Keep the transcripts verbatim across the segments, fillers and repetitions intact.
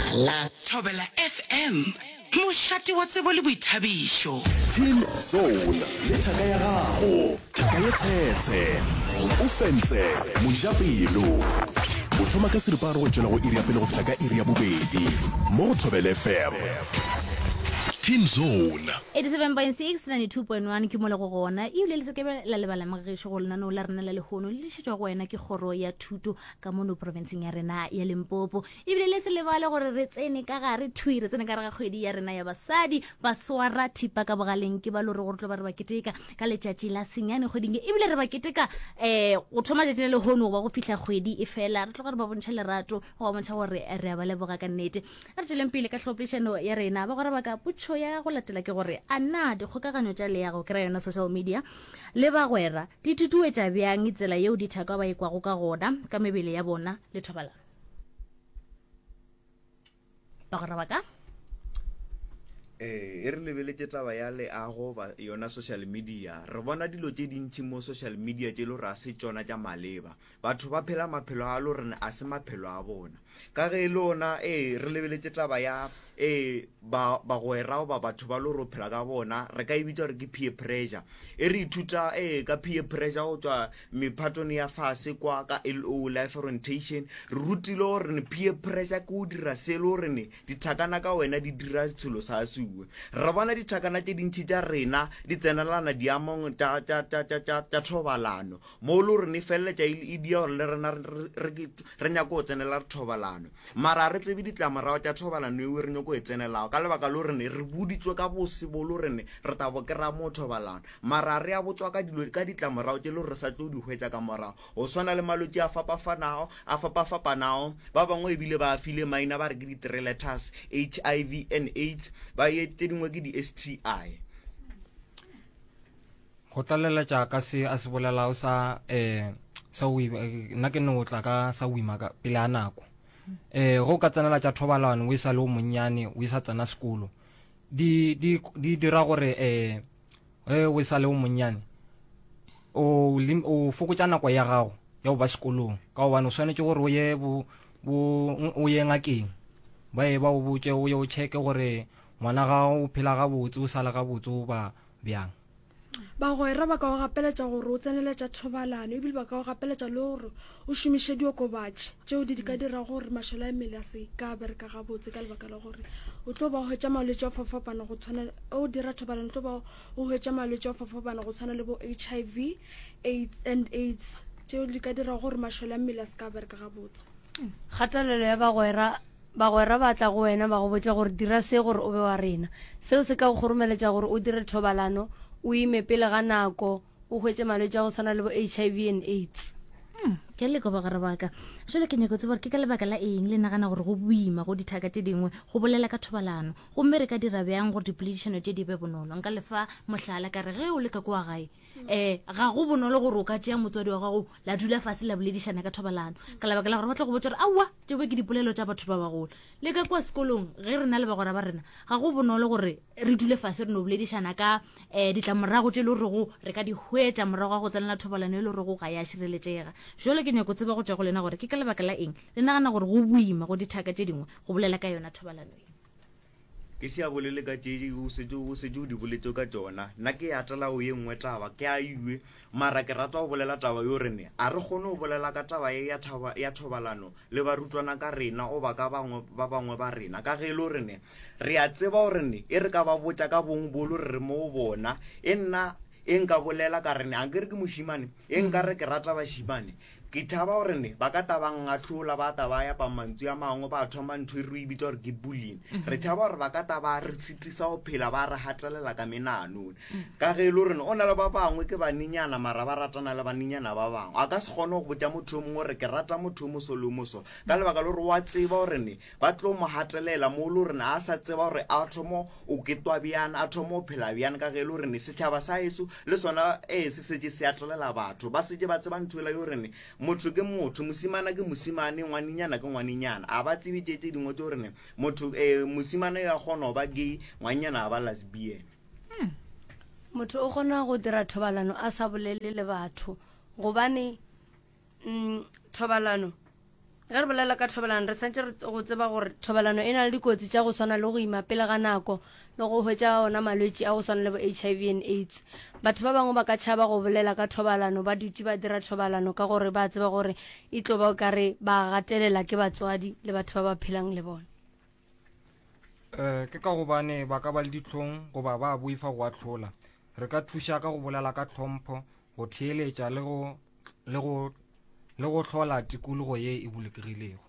Mohlala. Thobela F M, mošate wa tsebo le boithabišo. Teen Zone le thaka ya gago, thaka ye tshetshe, o fentse mojapelo. O thoma ka seripagare go tšwela go iri ya pele go fihla ka iri ya bobedi mo go Thobela F M. Teen Zone. eighty-seven point six, ninety-two point one ke mo le go gona. Ebile le sekebe la lebala, mogešo, go lenaneo la rena la lehono le tlišetšwa go wena ke kgoro ya thuto ka mono profenseng ya rena ya Limpopo. Ebile le se lebale gore re tsene ka gare thui, re tsene ka gare ga kgwedi ya rena ya basadi. Ba swara thipa ka bogaleng ke ba lore gore tlo ba re ba keteka ka letšatši la senyane kgweding ye. Ebile re ba keteka um go thoma letšatši la lehono goba go fihla kgwedi e fela. Re tloga re ba bontšha lerato, go ba bontšha gore re a ba leboga ka nnete. A re tšweleng pele ka tlhopoledišano ya rena, bagwera ba ka. Potšo ya go latela ke gore a na dikgokaganyo tša leago, ke ra yona social media, le bagwera di tutuetša bjang tsela yeo dithaka ba ikwago ka gona ka mebele ya bona le thobalano, bagwera ba ka? Ee, e re lebeletše taba ya leago ba yona social media. Re bona dilo tše dintši mo social media tše e le gore a se tšona tša maleba. Batho ba phela maphelo a le gore a se maphelo a bona ka ge e le ona. Ee, re lebeletše taba ya ee ba bagwera goba batho ba le gore o phela ka bona, re ka e bitša gore ke peer pressure. E re ithuta ee ka peer pressure go tšwa mephatong ya fase kwa ka L O, life orientation. Re rutile gore ne peer pressure ke go dira se le gore ne dithakana ka wena di dira selo sa suwe. Re bona dithakana tše dintši tša rena di tsenelana diamong tša tša- tša- tša- tša- tša thobalano, mo le gore ne feleletša e e dia gore le rena re- re re nyako go tsenela thobalano, mara ga re tsebe ditlamorago tša thobalano eo re nyako e tsenelago, ka lebaka le gore ne re boditswe ka bose bo le gore ne re tabo kry-a mo thobalano, mara re a botswa ka dilo ka ditlamorago tše le gore re sa tlo di hwetša ka morago, go swana le malwetši a fapafanago a fapafapanago. Ba bangwe ebile ba file maina ba re ke di-three letters, H I V and AIDS, ba ye tše dingwe ke di-S T I. Go tlaleletša ka se a se bolelago sa um sa o ima, eh, nna ke no tla ka sa o ima ka pele a nako. um go ka tsenela tša thobalano o e sa le o monnyane, o e sa tsena sekolo, di di di dira gore um ge o e sa le o monnyane o lim- o fokotša nako ya gago ya go ba sekolong, ka gobane o swanetše gore o ye bo bo o ye ngakeng, ba ye ba o botše, o ye o checke gore ngwana gago o phela gabotse, o sa le gabotse, o ba bjang. Bagwera ba ka go gapeletša gore o tseneletša thobalano, ebile ba ka go gapeletša le gore o šomiše diokobatši tšeo di ka dira gore mašole a mmele a se ka bereka gabotse, ka lebaka la gore o tlo ba hwetša malwetši a fapafapana go tshwana o dira thobalano, o tlo ba o hwetša malwetši a fapafapana go tshwana le bo H I V AIDS and AIDS tšeo di ka dira gore mašole a mmele a se ka bereka gabotse. Kgatelelo ya bagwera. Bagwera ba tla go wena ba go botša gore dira se gore o be wa rena. Seo se ka go kgoromeletša gore o dire thobalano, o ime pele ga nako, o hwetše malwetši a go tshwana le bo H I V and AIDS. Hmm, ke leko, bagwera ba ka. Jale ke nyako tseba gore ke ka lebaka la eng le nagana gore go boima go dithaka tše dingwe go bolela ka thobalano, gomme re ka dira bjang gore dipoledišano tše di be bonolo. Nka lefa mohlala ka re ge o le ka kua gae, um ga go bonolo gore o ka tšea motswadi wa gago la dula fase la boledišana ka thobalano, ka lebaka la gore ba tlo go botsa gore aowa, tšeo ke dipolelo tša batho ba bagolo. Le ka kua sekolong, ge re na le bagwera ba rena, ga go bonolo gore re dule fase re no boledišana ka um ditlamorago tše e le gorego re ka di hwetša morago ga go tsenela thobalano e le gorego ga ya šireletšega. Jalo ke nyako tseba go tšwa go lena gore ke ka lebaka la eng le nagana gore go boima go dithaka tše dingwe go bolela ka yona thobalano e. Ke se a bolele ka tše o setse o setse o di boletse ka tšona. Nna ke atela o ye nngwe taba ke a iwe, mara ke rata go bolela taba yo rene a re kgone go bolela ka taba ye ya thaba ya thobalano le barutwana ka rena goba ka bangwe ba bangwe ba rena, ka ge e le gore ne re a tseba gore ne e re ka ba botša ka bong bolo re re mo go bona. E nna e nka bolela ka rene a nkere ke mošimane, e nka re ke rata bašimane, ke thaba gore ne ba ka ta ba ngahlola, ba ta ba yapa mantšu a mangwe, ba thoma ntho e re e bitsa gore ke bullying. Re tšhaba gore ba ka ta ba re tshitisa go phela, ba re gatelela ka menanone, ka ge e le gore o na le ba bangwe ke banenyana mara ba ratana le banenyana ba bangwe. A ka se kgone go botša motho o mongwe gore ke rata motho o moso le o moso, ka lebaka le gore wa tseba gore ne ba tlo mo gatelela mo le gore ne a sa tseba gore a thomo o ketwa bjang, a thomo o phela bjang, ka ge e le gore ne setšhaba sa eso le sona ee se setse se atelela batho, ba setse ba tseba ntho ela yo gore ne motho ke motho, mosimana ke mosimane, ngwanenyana ke ngwanenyana. A ba tsebe tše tše dingwe tse gore ne motho um mosimane ya kgona go ba gay, ngwanenyana a ba lesbian. Motho o kgona go dira thobalano a sa bolele le batho, gobane mm, thobalano Ge re bolela ka thobalano re santše re go tseba gore thobalano e na le dikotsi tša go swana le go ima pele ga nako le go hwetša ona malwetši a go swana le bo H I V and AIDS. Batho ba bangwe ba ka tšhaba go bolela ka thobalano ba dutše ba dira thobalano ka gore ba tseba gore e tlo ba o ka re ba gatelela ke batswadi le batho ba ba phelang le bona. Um ke ka gobane ba ka ba le dihlong goba ba boifa go ahlola. Re ka thuša ka go bolela ka tlhompho, go theeletša le go le go le go hlola tikologo ye e bolokegilego.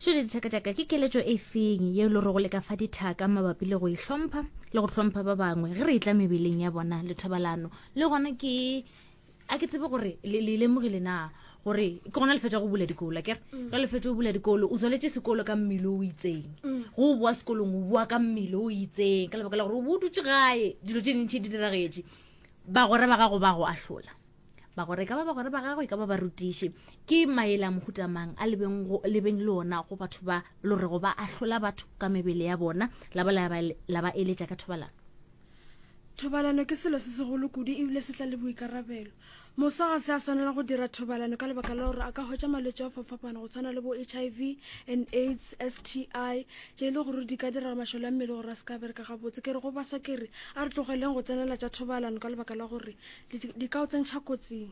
Šole dithaka tšaka, ke keletšo e feng ye le rego le ka fa dithaka mabapi le go ihlompha le go hlompha ba bangwe ge re etla mebeleng ya bona le thobalano? Le gona ke a ke tsebe gore le le lemogile na gore ke gona le fetša go bula dikolo, akere ge le fetša go bula dikolo o tswaletše sekolo ka mmele o itseng, go o boa sekolong o boa ka mmele o itseng ka lebaka la gore o bo o dutše gae, dilo tše dintšhi di diragetše, bagwera ba gago ba go ahlola, bagwera e ka ba bagwera ba gago, e ka ba barutiši. Ke maele a mohuta mang a lebeng go lebeng le ona go batho ba lorego ba ahlola batho ka mebele ya bona, la ba la ba la ba eletša ka thobalano? Thobalano ke selo se segolo kudu ebile se tla le boikarabelo. Moswa ga se a swanela go dira thobalano ka lebaka la gore a ka hwetša malwetši a go fapafapana go tshwana le bo H I V and AIDS, S T I, tše e le gore di ka dira mašole a mmele gore a se ka bereka gabotse. Ke re go baswa, ke re a re tlogeleng go tsenela tša thobalano ka lebaka la gore di di ka o tsentšha kotsing.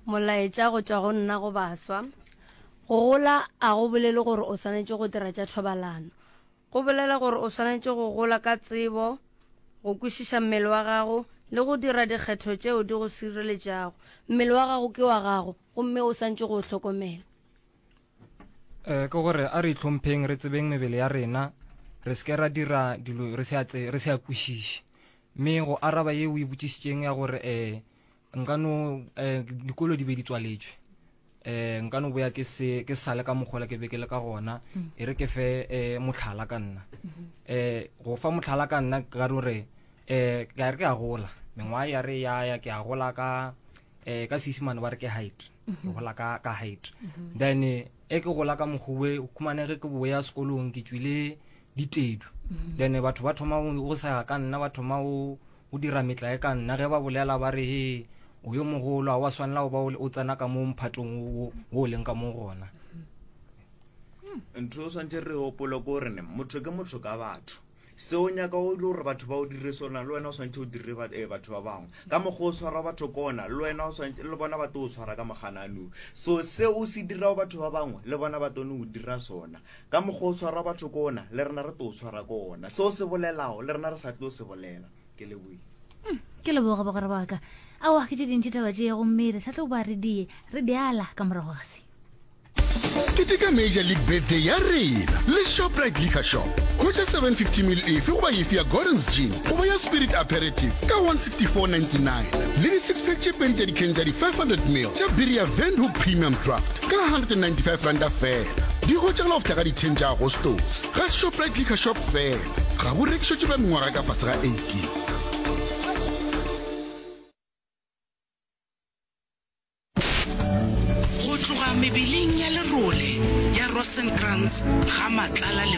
Molaetša go tšwa go nna go baswa: go gola a go bolele gore o swanetše go dira tša thobalano, go bolela gore o swanetše go gola ka tsebo, go kwešiša mmele wa gago le go dira dikgetho tšeo di go sireletšago. Mmele wa gago ke wa gago gomme o santše go o hlokomela. um ke gore a re itlhompheng, re tsebeng mebele ya rena, re se ke ra dira dilo re se a tse- re se a kwešiše. Mme go araba ye o e botšišitšeng ya gore um nka no um dikolo di be di tswaletšwe, um nka no boya ke se ke sale ka mokgola ke be ke le ka gona. E re ke fe um motlhala ka nna, um go fa motlhala ka nna ka gore um ke a re ke a gola, mengwaga ya re ya ya ke a gola ka um ka Seisimane ba re ke height, ke gola ka ka height. Then e ke gola ka mokgowe, o khumane ge ke boya sekolong ke tswile ditedu, then batho ba thoma go go sega ka nna, ba thoma go go dira metlae ka nna. Ge ba bolela ba re, he, o yo mogolo, a wa swanela go ba o o tsena ka mo mphatong wo wo o leng ka mo gona. Ntho o swantse re gopole ko gore ne motho ke motho ka batho. Se o nyaka o ile gore batho ba o dire sona, le wena o swantse o dire ba- eh, batho ba bangwe ka mokgwa o tshwara batho kona, le wena o swantse le bona ba tlo o tshwara ka moganano. So se o se dirago batho ba bangwe, le bona ba tlo no o dira sona. Ka mokgwa o tshwara batho kona, le rena re tlo o tshwara kona. Se o se bolelago, le rena re sa tlo se bolela. Ke leboile. Ke leboga bagwera ba ka. Aowa, ke tše dintši taba tše, gomme re tlhatlhoba re die re diala ka morago ga se. Keteka Major League Birthday ya rena le Shoprite Liquor Shop. Hwetša seven fifty ml efe goba efe ya Gordon's Gin goba ya Spirit Aperitif ka one sixty-four ninety-nine le di-six pack tše pedi tša dikheng tša di five hundred ml tša biri ya Windhoek Premium Draft ka one ninety-five randa fela. Di hwetšagala go fihla ka di ten tša Agostose ga Shoprite Liquor Shop fela. Ga bo rekišetšwe ba mengwaga ka fase ga eighteen. Go tloga mebeleng ya lerole ya Rosenkrantz ga Matlala le